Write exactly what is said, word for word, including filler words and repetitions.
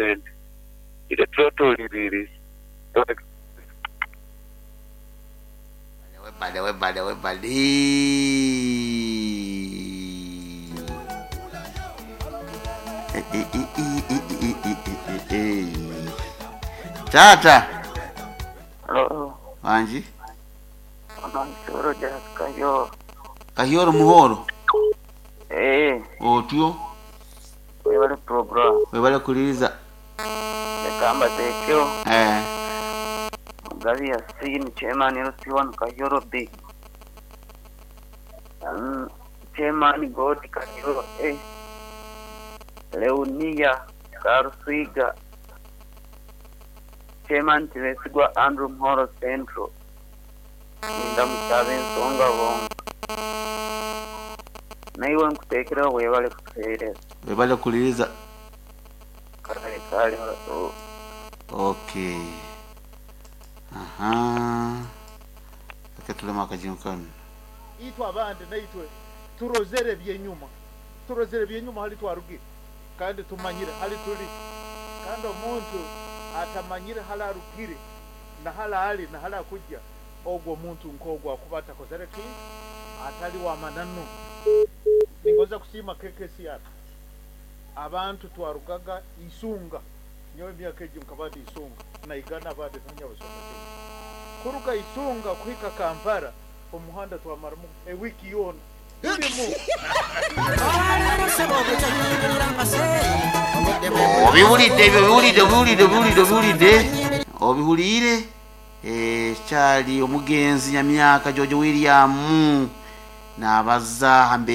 sente. Itwe tuba tuwuliriire. Webale webale webale. Eh, eh, eh, eh, eh, eh, eh, eh, eh, eh. Tata Halo, wanji amansoro jakayo. Kahyoro muhoro Eh, otyo webale program. webale kuliriza Lekamba tekyo. eh Mugabi Yasin, chairman L C one Kayoro B. Um, chairman God Kayoro A. Leonia Karuswiga. Chairman Tibesigwa Andrew Mhoro Central. Inda mutabe ensonga bonga. Naiwe nkutekera webale kutuheereza. webale kuliriza. Kale kale oh. Okay, aha, akatulema akajinukano. Itwe abandi naitwe turozere byenyuma, turozere byenyuma hali twarugire kandi tumanyire hali tuli, kandi omuntu atamanyire hali arugire na hali ali na hali akujja, ogwo omuntu nk'ogwo akuba atakozere ki atali wa mananu. Ningoza kusiima K K C R. Abantu twarugaga isunga nyowe emyaka egyo nkaba ndi isunga naigana abandi ntanyabasoma kuruga isunga kuhika Kampala omuhanda twamaramu ewiki yoona tulimu. Obiwulidde ebyo, obiwulidde, obiwulidde, obiwulidde, obiwulidde, obiwuliire. Eh, kyali omugenzi Nyamyaka George William n'abazza hambe.